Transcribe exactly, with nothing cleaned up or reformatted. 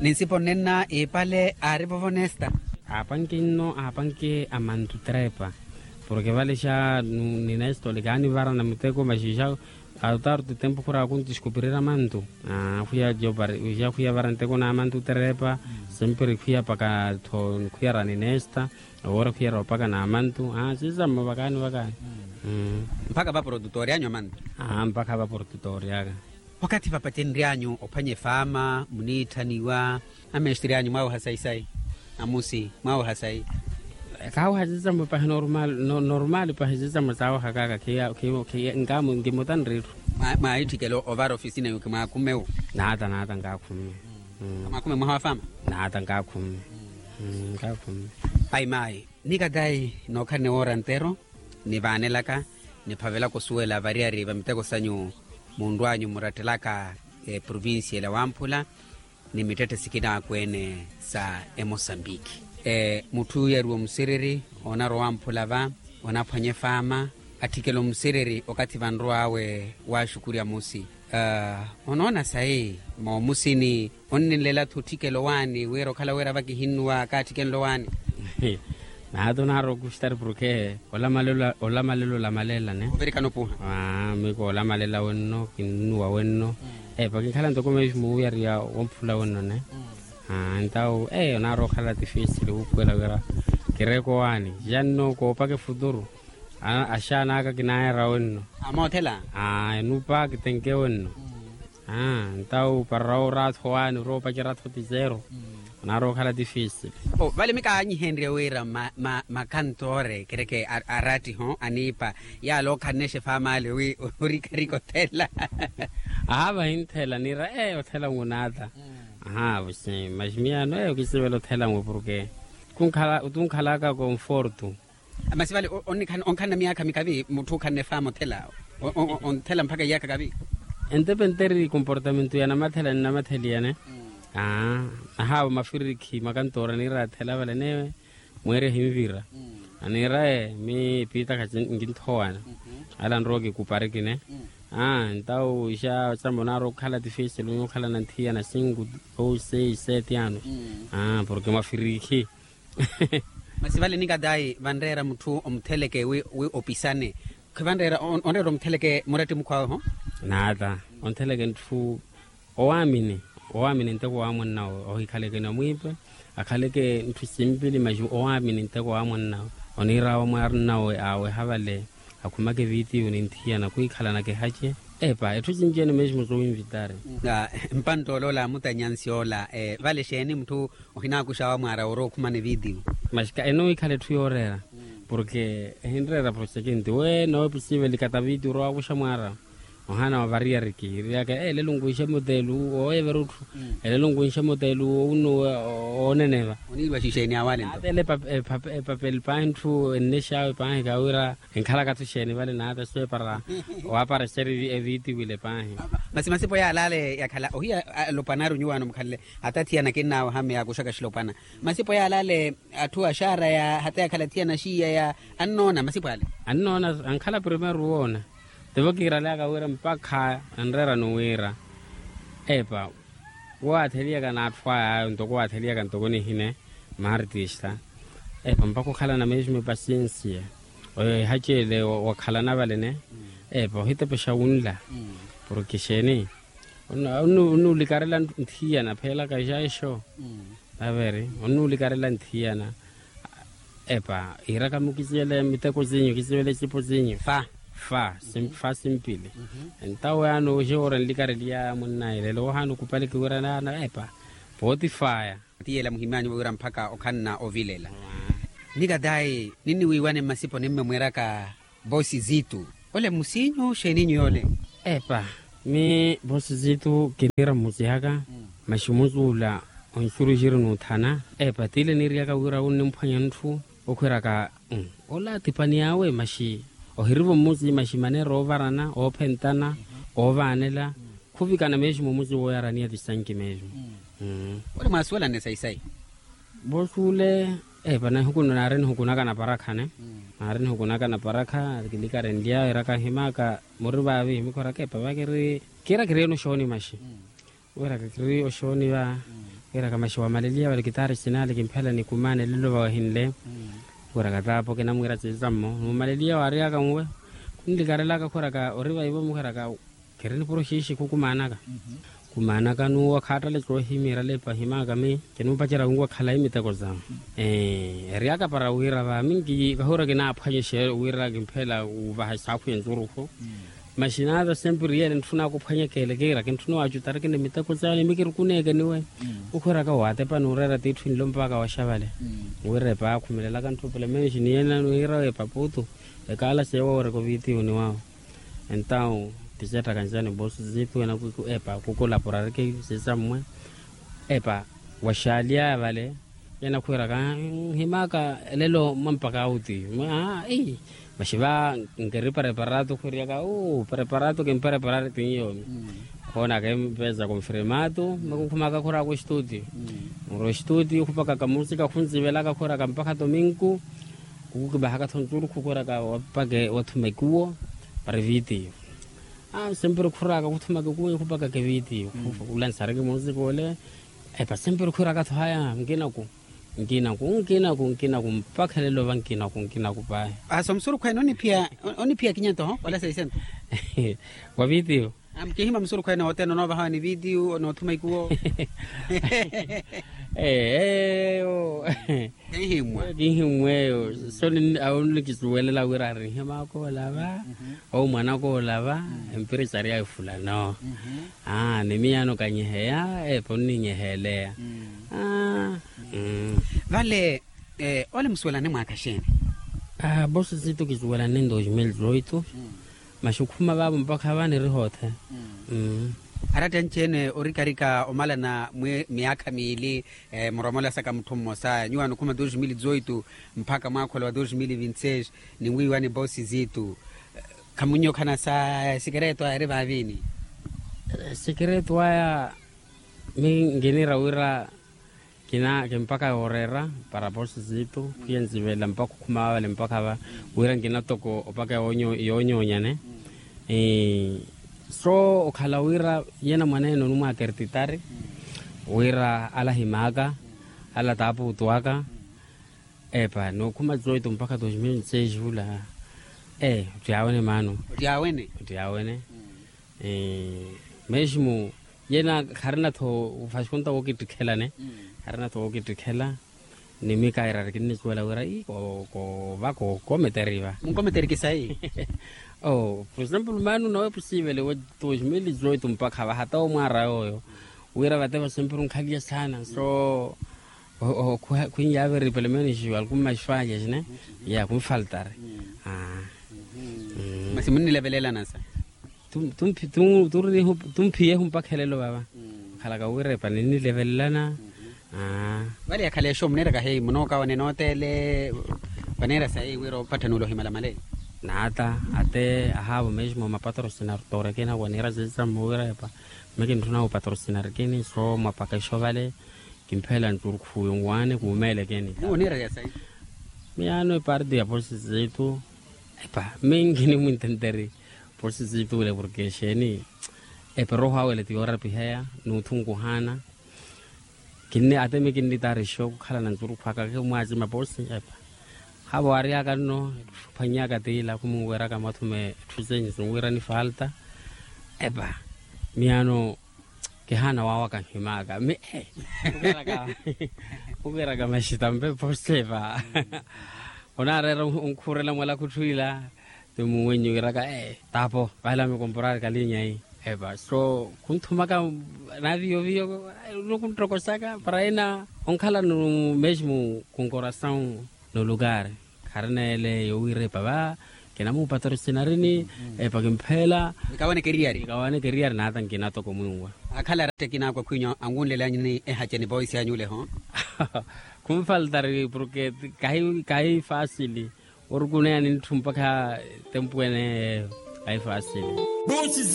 Ninsipo nnenna iipale aari vovo nesta. Aapanke nno aapanke amantu trepa. Porke vale xa ninesta ole kaanivarana muteko maxixa. Autaru titempu khura akunti xikupirira mantu. Khwiya jopari wixa khwiya vara nteko na mantu trepa. Semperi khwiya paka tho khwiya ra ninesta. Owora khwiya ra opaka na mantu. Sisamo vakaani vakaani. Mpakha vaprotutori anyu amantu. Mpakha vaprotutori aka. Wakathi vapatenryanyu ophwanya efaama muniitthaniwa. Amestre anyu mwaaweha sayi sayi. Amusi mwaaweha sayi. Kaaweha sisamo pahi normal. Normal pahi sisamo saawehakaka. Khiya khiya khiya nkaamu nkimuta nriru. Mwaahitthikela ovara ofisina yuki mwaakume wu. Naata naata nkaakume. Mwaakume mwaha wa faama. Naata nkaakume. Nkaakume. Ayi maayi. Nikatayi nookhalana ewoora ntero nivaanelaka niphavelaka osuwela variyari va miteko sanyu. Munrwanyu murattelaka eprovincia ela wamphula ni mittette sikina akweene sa emosambiki. Mutthu yariwa omusiriri onarwa owamphula va onaphwanya efaama atthikela omusiriri okathi vanrwaawe waxukurya musi. Onoona sayi moomusini onninlela-tho otthikela owaani wira okhala wira vakihinnuwa kaatthikela owaani. Naata onaari okuxitari porke olamalela olamalela ne. Ovirikana opuha. Miiko olamalela wenno kinnuwa wenno. Epa kinkhala ntoko meeximu wiyariya womphula wenno ne. Entawu onaari okhala tifisili wuupuwela wira kireeke owaani. Janno koopaka efuturu. Axaan'aka kinaayara wenno. Amoothela. Enupa kitenke wenno. Entawu para oraatho waani oroopacerya-tho tizero. Onaari okhala tifisili. Vale mikaanyihenrye wira makantoore kereke arattiho aniipa yaala ookhannexa efaama ale wi orikarika othela. Aha vahinthela niira ee othela ngu naata. Aha maximiyano ee okisivela othela ngu porke tunkhalaka konfortu. Masi vale onkhanna myaakha mikavi mutthu okhanna efaama othela. Onthela mpakha iyaakha kavi. Entepenteri komportamentu ya namathela ni namatheli yane. Ahaavo mafirikhi makantoora niira athela vale newe mweeri ahinvira. Aniira ee miipitakha nkinthowani. Ala nrowa kikuparikine. Entawu ixa samba onaari okhala tifesili onyu okhalana nthiyana sinku ou sei seti anu. Porke mwafirikhi. Masi vale nikatayi vanreera mutthu omutheleke wi opisane. Khivanreera onreera omutheleke muratti mukhwawe ho. Naata ontheleke ntthu owaamini owaamini nteko wa mwannawe ohikhaleke namwiipe. Akhaleke ntthu simpili maxi owaamini nteko wa mwannawe oniirawa mwannawe aweha vale. Akhumake vitiyo ni nthiyana khwikhalanaka ehace. Epa etthu sinci-ene mesmo sowinvitari. Mpantta ola ola amutanyansi ola vale exeeni mutthu ohinaakuxawa mwaara orowa okhumana evitiyo. Maxika ene wikhala etthu yooreera porke ehinreera proxekenti we noopisiveli kataviti orowa wakuxa mwaara. Ohaana wa variyari kiiriyaka elelo nkunxe motelu wooyevera otthu. Elelo nkunxe motelu wowunnuwe wooneneva. Oniiriwa xixeeni awale nto. Atele epapeli paahi ntthu ennexawe paahi kawira enkhalaka-tho exeeni vale naata so epara. Waaparexa eri evitiwile paahi. Masi masipo yaala ale yakhala ohiya alopwanari onyuwaano mukhalele hata athiyana kinnaawe hame yaakuxaka exilopwana. Masipo yaala ale atthu axaaraya hata yakhala athiyana axiiyaya annoona masipo ale. Annoona ankhala primeiro woona. Tivo kiiraleyaka wira mpakha anreerano wira epa woowatheliyaka n'atthu aya ayo ntoko oowatheliyaka ntoko nihine maartista. Epa mpakha okhalana mesmo epasinsiya oyo ehacele wakhalana valene. Epa ohitepexa wunla porke xeeni onuulikarela nthiyana pheelaka exaixo. Averi onuulikarela nthiyana. Epa iiraka-mo kisivele miteko sinyu kisivele ecipo sinyu fa fa simpili. Entawo yaani oxewoora nlikareliya mwannaye lelo ohaana okupaleke wira naana epa pootifaya. Tiyela muhimyanyu wira mpakha okhanna ovilela. Nikatayi ninniwiiwane mmasipo nimmemweraka vosi zitu. Ole mmusinyu xeeninyu yoole? Epa mi vosi zitu kiniira mmusi aka maxi omusuula onxuruxiri n'uthana. Epa tile niiriyaka wira wunnimphwanya ntthu okhwiraka ola tipani awe maxi ohirivo mmusi maxi maneera oovarana oophentana oovaanela. Khuvikana mesmo mmusi wooyaraniya tisanki mesmo. Ole mwaasuwelane sayi sayi. Voosuule epa naari nihukunaka naparakha ne. Naari nihukunaka naparakha kilikarenlya eraka himaka muri vaavi himikhoraka epa vakiri kiira kiri enu oxooni maxi. Wira kakiri oxooni va. Wiraka maxi wamaleliya wali kitaari sinaali kimphela ni kumaana elelo vawehinle. Wiraka taapo kinamwiira sisammo numaleliya waaryaka nwe. Khunlikarelaka khwiraka ori vaivo mukhwiraka. Khiri nipuro xiixi khukumaanaka. Kumaanaka nuuwa khaattale coohimira lepa himaka mi kinumpacerya winwa khalayi miteko sawe. Eryaka para wira va minki kahura kinaaphwanyeshe wira kimphela uvaha saakhu ya ncuruhu. Maxinaata sempiri yene ntthuna akuphwanyekele kiira kintthuna waacutari kini miteko sawe ni mikirukuneekeniwe. Ukhwiraka waatepa nuureera tiitthu nlo mpaka waxavale. Wira epa akhumelelaka ntthu pelemenxi ni yena nuhiira epa putu. Ekaala seewa wira kovitiyo ni wawe. Entawu ticettaka ncani boosi ziitu epa kukulaporariki sisammwe. Epa waxaalyaya vale. Yena khwiiraka nhimaka elelo mwampaka auti. Maxi va nkeri preparatu khwiiryaka uu preparatu kimpreparari tinyomi. Khoona kimpeeza konfirmatu makunkhumaka khuraka ostuti. Muro ostuti khupakaka musika khunzivelaka khwiiraka mpakha tominku. Khukukibahaka thonturukhu khuraka wapake wathumekuwo. Parivitiyo sempiri khuraka khuthumake kuwi khupakake vitiyo. Khulansareke musika ole. Epa sempiri khuraka tho haya nkinaku nkinaku nkinaku nkinaku mpakha lelo va nkinaku nkinaku pahi. Asa omusurukhu ene oniphiya oniphiya kinyento ho wala seisento. Wa vitiyo. Mukihima musurukhu ene ote nonovahawa ni vitiyo nothumekuwo. Eyo. Kinhimwa eyo so awo nikisuwelela wira ari nhimaka olava. Owo mwanaka olava. Empira isaryaya efulano. Ni miyaano kanyeheya epo nninyeheeleya. Vale ole musuwelane mwaaka xeeni? Boosi ziitu kisuwelane dos mil dezoito. Maxi okhuma vaavo mpakha va niri hoothe. Aratta anci-ene orikarika omalana miyaakha miili. Muromolesaka mutthu mmosa nyuwaani okhuma dos mil dezoito mpakha mwaakhola wa dos mil vinti seis. Ninwiiwani boosi ziitu khamunnyokhanasa esekereto aya eri vaaviini? Esekereto aya mi nkiniira wira kina kimpaka yooreera para boosi ziitu. Khwiya nzivelela mpakha okhuma vavale mpakha va wira nkina toko opaka yoonyonyane. So okhala wira yena mwaneene onimwaaka erititari wira ala ahimaaka ala taapuutu aka. Epa nookhuma zoito mpakha dos mil seis vula. Ee ottiyawene maano. Ottiyawene. Mesmo yena kharina-tho ofaskunta wookittikhelane. Kharina-tho wookittikhela ni mikairari kinnisuwela wira ii koova kookometeri va. Munkometeri kisayi. Por exemplo maano nawe pusiivele wa dos mil dezoito mpakha va hata omwaara yooyo wira vate vasempiri onkhaliya saana so khwinyaaveri pelo menos algumas fallas ne ya khunfaltari. Masi munnilevelelana sa? Tumphiyehu mpakha elelo vava. Okhalaka wirepa ninnilevelelana. Vale yakhala exo muniiraka heyi munookawane nooteele vaniira sayi wira opatthana ole ohimalamale. Naata ate ahaavo mesmo mapatrocinar torekina waniira ziiza mmuwirepa. Mikinttuna opatrocinar kini so mwapaka exo vale. Kimpheela nturukhu yonwaani kuumeelekeni. Miyaano eparti ya posi ziitu. Epa minki nimwintenteri posi ziitu wile porke exeeni. Epa erooho awele ti yoorapiheya n'uthunkuhaana. Kinni atemi kinnitaarixo kukhalana nturukhu aka kimwaacima posi epa. Havo waaryaka nno etthu phwannyaka tiila khumunweraka mwathuma etthu zenyu sinwirani falta. Epa miyaano kihaana waawaka nhimaka mi ee. Khukiiraka maxi tampe posi epa. Onaareera onkhuurela mwala khutthu ila ti muuwenyu kiiraka ee taapo vale amikomporari kalinyayi. Epa so khunthumaka naviyoviyo. Nikuntokosaka para ina onkhalano mesmo khunkorasawu. Nulukari kharina ele yowiira epa va kinamupatrocinarini. Epa kimpheela. Nikawane keriyari nata nkina toko mwinwa. Akhala aratta ekina akwa khwinyu anwunlelanyani ehace ni voice anyu ole ho. Khunfaltari porke kahi fasili orukuneya ni ntthu mpakha tempu ene. Kahi fasili.